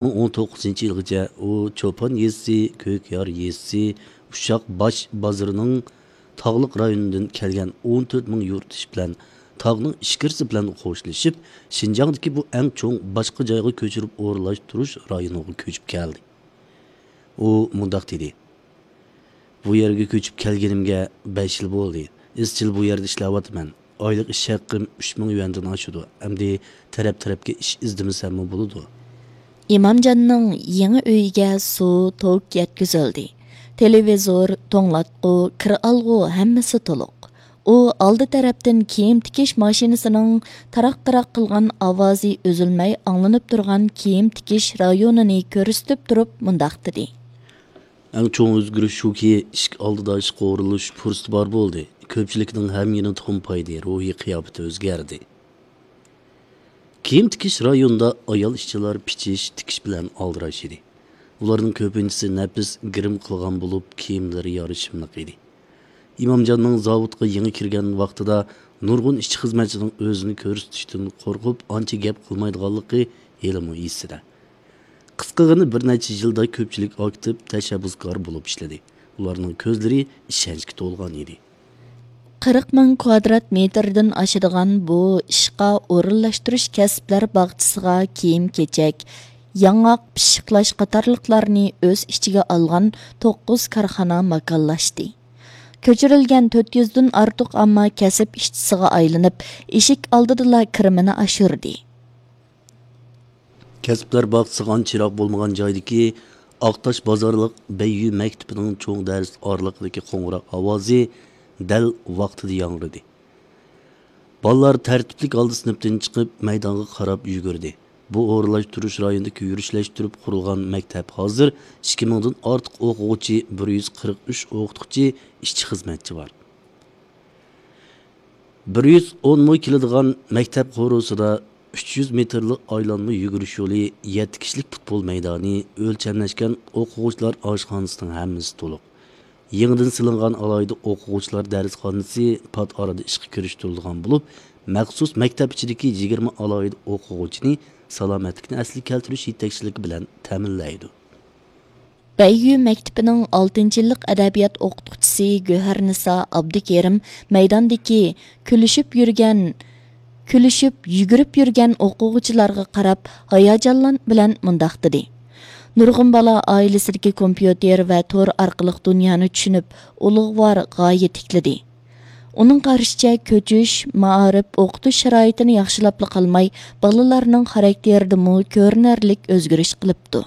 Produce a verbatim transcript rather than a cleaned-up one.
ئون توققۇزىنچى يىلغىچە ئۇ چوپان يېزىسى، كۆكيار يېزىسى، ئۇششاق باش بازىرىنىڭ تاغلىق رايونىدىن كەلگەن ئون تۆت مىڭ يۇرتدىشى بىلەن تاغنىڭ ئىچكىرىسى بىلەن خوشلىشىپ، شىنجاڭدىكى بۇ ئەڭ چوڭ باشقا جايغا كۆچۈرۈپ ئورۇنلاشتۇرۇش رايونىغا كۆچۈپ كەلدى. ئۇ مۇنداق دېدى: بۇ يەرگە كۆچۈپ كەلگىنىمگە بەش يىل بولدى. ئىزچىل بۇ يەردە ئىشلەۋاتىمەن. ئايلىق ئىش ھەققىم ئۈچ مىڭ يۈەندىن ئاشىدۇ. ئەمدى تەرەپ-تەرەپكە ئىش ئىزدىمىسەممۇ بولىدۇ. ئىمامجاننىڭ يېڭى ئۆيىگە سۇ، توك يەتكۈزۈلدى. تېلېۋىزور، توڭلاتقۇ، كىر ئالغۇ، ھەممىسى تولۇق. ئۇ ئالدى تەرەپتىن كىيىم تىكىش ماشىنىسىنىڭ تاراق-تاراق قىلغان ئاۋازى ئۈزۈلمەي ئاڭلىنىپ تۇرغان كىيىم تىكىش رايونىنى كۆرسىتىپ تۇرۇپ مۇنداق دېدى. ئەڭ چوڭ ئۆزگىرىش شۇكى، ئىشىك ئالدىدا ئىشقا ئورۇنلىشىش پۇرسىتى بار بولدى. كۆپچىلىكنىڭ ھەم يېنى تومپايدى، روھىي قىياپىتى ئۆزگەردى. كىيىم تىكىش رايونىدا ئايال ئىشچىلار پىچىش، تىكىش بىلەن ئالدىراش ئىدى. ئۇلارنىڭ كۆپىنچىسى نەپىس گىرىم قىلغان بولۇپ، كىيىملىرى يارىشىملىق ئىدى. ئىمامجاننىڭ زاۋۇتقا يېڭى كىرگەن ۋاقتىدا نۇرغۇن ئىشچى خىزمەتچىنىڭ ئۆزىنى كۆرسىتىشتىن قورقۇپ، ئانچە گەپ قىلمايدىغانلىقى ھېلىمۇ ئېسىدە. قىسقىغىنە بىر نەچچە يىلدا كۆپچىلىك ئاكتىپ تەشەببۇسكار بولۇپ ئىشلىدى. ئۇلارنىڭ كۆزلىرى ئىشەنچكە تولغان ئىدى. قىرىق مىڭ كۋادرات مېتىردىن ئاشىدىغان بۇ ئىشقا ئورۇنلاشتۇرۇش كەسىپلەر باغچىسىغا كىيىم-كېچەك، ياڭاق، پىششىقلاش قاتارلىقلارنى ئۆز ئىچىگە ئالغان توققۇز كارخانا ماكانلاشتى. كۆچۈرۈلگەن تۆت يۈزدىن ئارتۇق ئامما كەسىپ ئىشچىسىغا ئايلىنىپ، ئىشىك ئالدىدىلا كىرىمىنى ئاشۇردى. كەسىپلەر باغچىسىغا ئانچە يىراق بولمىغان جايدىكى ئاقتاش بازارلىق بەييۈ مەكتىپىنىڭ چوڭ دەرس ئارىلىقىدىكى قوڭغۇراق ئاۋازى دەل ۋاقتىدا ياڭرىدى. بالىلار تەرتىپلىك ھالدا سىنىپتىن چىقىپ، مەيدانغا قاراپ يۈگۈردى. بۇ ئورۇنلاشتۇرۇش رايونىدىكى يۈرۈشلەشتۈرۈپ قۇرۇلغان مەكتەپ ھازىر ئىككى مىڭدىن ئارتۇق ئوقۇغۇچى، بىر يۈز قىرىق ئۈچ ئوقۇتقۇچى، ئىشچى خىزمەتچى بار. بىر يۈز ئون مو كېلىدىغان مەكتەپ قورۇسىدا ئۈچ يۈز مېتىرلىق ئايلانما يۈگۈرۈش يولى، يەتتە كىشىلىك پۇتبول مەيدانى، ئۆلچەملەشكەن ئوقۇغۇچىلار ئاشخانىسىنىڭ ھەممىسى تولۇق. يېڭىدىن سېلىنغان ئالاھىدە ئوقۇغۇچىلار دەرسخانىسى پات ئارىدا ئىشقا كىرىشتۈرۈلىدىغان بولۇپ، مەخسۇس مەكتەپ ئىچىدىكى يىگىرمە ئالاھىدە ئوقۇغۇچىنى سالامەتلىكنى ئەسلىگە كەلتۈرۈش يېتەكچىلىكى بىلەن تەمىنلەيدۇ. بەييۈ مەكتىپىنىڭ ئالتىنچى يىللىق ئەدەبىيات ئوقۇتقۇچىسى گۆھەرنىسا ئابدۇكېرىم مەيداندىكى كۈلۈشۈپ يۈرگەن، كۈلۈشۈپ، يۈگۈرۈپ يۈرگەن ئوقۇغۇچىلارغا قاراپ ھاياجانلان بىلەن مۇنداق دېدى: نۇرغۇن بالا ئائىلىسىدىكى كومپيۇتېر ۋە تور ئارقىلىق دۇنيانى چۈشىنىپ، ئۇلۇغۋار غايە تىكلىدى. ئۇنىڭ قارىشىچە، كۆچۈش، مائارىپ، ئوقۇتۇش شارائىتىنى ياخشىلاپلا قالماي، بالىلارنىڭ خاراكتېرىدىمۇ كۆرۈنەرلىك ئۆزگىرىش قىلىپتۇ.